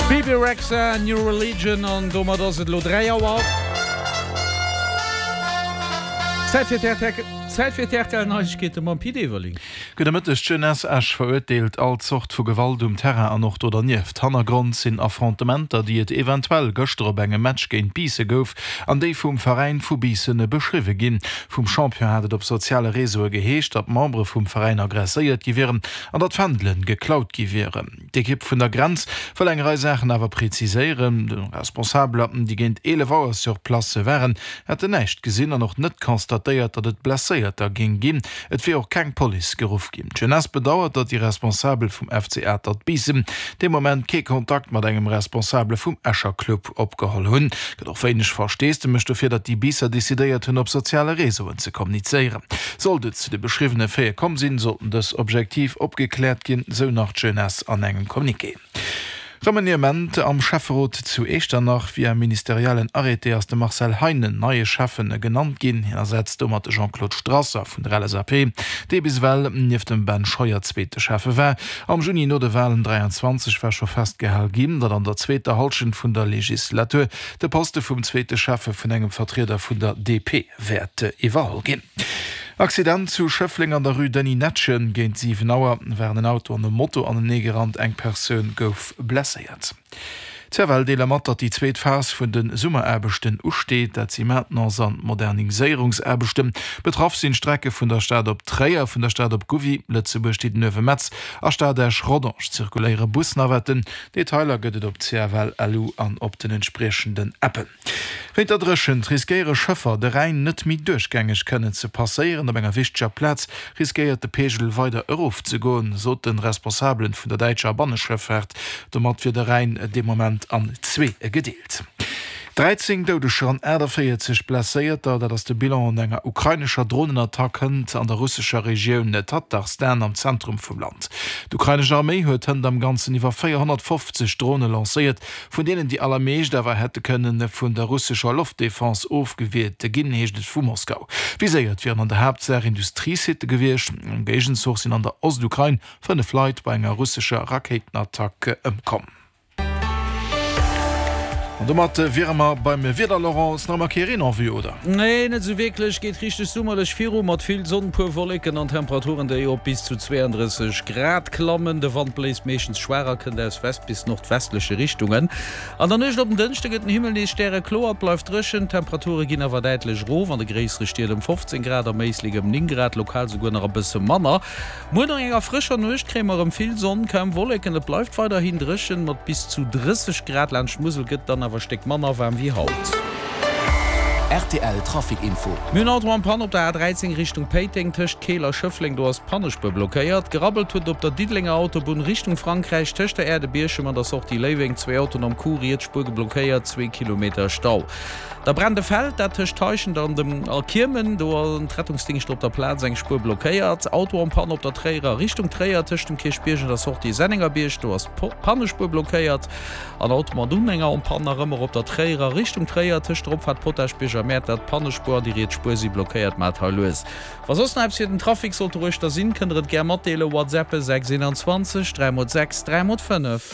Bebe Rexha, New Religion an domat ass et elo 3 Auer. Zäit fir d'RTL, Zäit fir d'RTL Neiegkeete mam Pit Everling. Gudde Mëtteg, D'Jeunesse Esch verurteelt all Zort vu Gewalt um Terrain an och do dernieft. Hannergrond sinn Affrontementer, déi et eventuell gëschter op engem Match géint Biissen gouf an déi vum Veräin vu Biissen beschriwwe ginn. Vum Champion hat et op soziale Reseaue geheescht, datt Membere vum Veräin aggresséiert gi wieren an datt Fändelen geklaut gi wieren. D'Ekipp vun der Grenz wëll eng Rei Saachen awer präziséieren. De Responsabeler, déi géint 11 Auer sur place waren, hätten näischt gesinn an och net constatéiert, datt et Blesséierter géing ginn. Et wier och keng Police geruff ginn. D'Jeunesse bedauert, datt déi Responsabel vum FC Atert Biissen dee Moment kee Kontakt mat engem Responsabele vum Escher Club opgeholl hunn. Gëtt och wéineg Versteesdemech dofir, datt déi Biisser decidéiert hunn, op soziale Reseauen ze kommunizéieren. Sollt et zu de beschriwwene Faite komm sinn, sollten dës objektiv opgekläert ginn, sou nach d'Jeunesse an engem Communiqué. Remaniement am Schäfferot zu Eechternach, Via ministeriellen Arrêté ass de Marcel Heinen neie Schäffen genannt ginn. Hien ersetzt domat de Jean-Claude Strasser vun der LSAP, dee bis ewell nieft dem Ben Scheuer zweete Schäffe war. Am Juni no de Walen 23 war scho festgehal ginn, datt an der zweeter Hallschent vun der Legislatur de Poste vum zweete Schäffe vun engem Vertrieder vun der DP wäert iwwerholl ginn. Accident zu Schëffleng an der Rue Denis Netgen, Géint 7 Auer waren en Auto an e Moto aneneegerannt, eng Persoun gouf blesséiert. D'CFL deele mat, datt déi zweet Phas vun de Summeraarbechten usteet. Dat si Maintenance an Moderniséierungsaarbechten. Betraff sinn d'Strecke vun der Stad op Tréier, vun der Stad op Gouvy, Lëtzebuerg, Diddenuewe-Metz a Stad Esch-Rodange zirkuléiere Busnavetten. Detailer gëtt et op CFL-LU an op den entspriechenden Appen. Wéint der Dréchent riskéiere Schëffer, de Rhäin net méi duerchgängeg kënnen ze passéieren. Op enger wichteger Plaz riskéiert de Peegel weider erofzegoen, sot de Responsabelen vun der däitscher Banneschëffaart. Domat wier de Rhäin dee Moment an zwee gedeelt. 13 Doudeger an 48 Blesséierter, dat ass de Bilan an enger ukrainescher Dronenattack hënt an der russescher Regioun Tatarstan am Zentrum vum Land. D'ukrainesch Arméi huet hënt am Ganzen iwwer 450 Drone lancéiert, vun deenen déi allermeescht awer hätte kënne vun der russescher Loftdefense ofgewiert ginn, heescht et vu Moskau. Viséiert wieren an der Haaptsaach Industriesitte gewiescht. Am Géigenzuch sinn an der Ostukrain 5 Leit bei enger russescher Rakéitenattack ëmkomm. An domat wiere mer beim Wieder, Laurent. Ass nach ëmmer kee Reen en vue, oder? Nee, net esou wierklech. Geet richteg summerlech viru mat vill Sonn, puer Wolleken an Temperaturen, déi op bis zu 32 Grad klammen. De Wand bléist meeschtens schwaach a kënnt aus West bis nordwestleche Richtungen. An der Nuecht op den Dënschde gëtt den Himmel nees stärekloer, et bleift dréchen, d'Temperature ginn awer däitlech erof, an de gréissere Stied ëm 15 Grad, am Éislek ëm 9 Grad, lokal souguer nach e bësse manner. Muer no enger frëscher Nuecht kréie mer erëm vill Sonn, kaum Wolleken, et bleift weiderhin dréchen mat bis zu 30 Grad. Laanscht d'Musel gëtt et dann awer e Stéck manner waarm wéi haut. Rtl Trafic Info. Mir hunn Auto en Panne op der A13 Richtung Péiteng, tëscht Keel a Schëffleng, do ass d'Pannespuer blockéiert. Gerabbelt huet et op der Diddelenger Autobunn Richtung Frankräich, tëscht der Aire de Bierchem an der Sortie Léiweng, zwee Autoen am Coup, riets Spuer geblockéiert, zwee Kilometer Stau. Da brennt e Feld, dat tëscht Heischent an dem a Kiemen, do hunn d'Rettungsdingschter op der Plaz eng Spuer blockéiert. Auto en Panne op der Tréierer Richtung Tréier, tëscht dem Kierchbierg an der Sortie Sennengerbierg, do ass d'Pannespuer blockéiert. An Auto mat Unhänger en panne nach ëmmer op der Tréierer Richtung Tréier tëscht der Opfaart Potaschbierg a Mäertert. D'Pannespuer an déi riets Spuer si blockéiert. Maacht hei lues. Wa soss nach eppes fir den Trafic sollt doruechter sinn, kënnt der et gär matdeelen. WhatsAppe 6 21 3 mol 6 3 mol 5.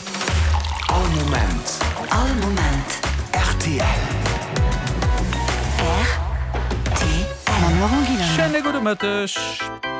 All Moment. All Moment. Rtl. Rtl. Mam Laurent Guillaume. Schéine gudde Mëtteg.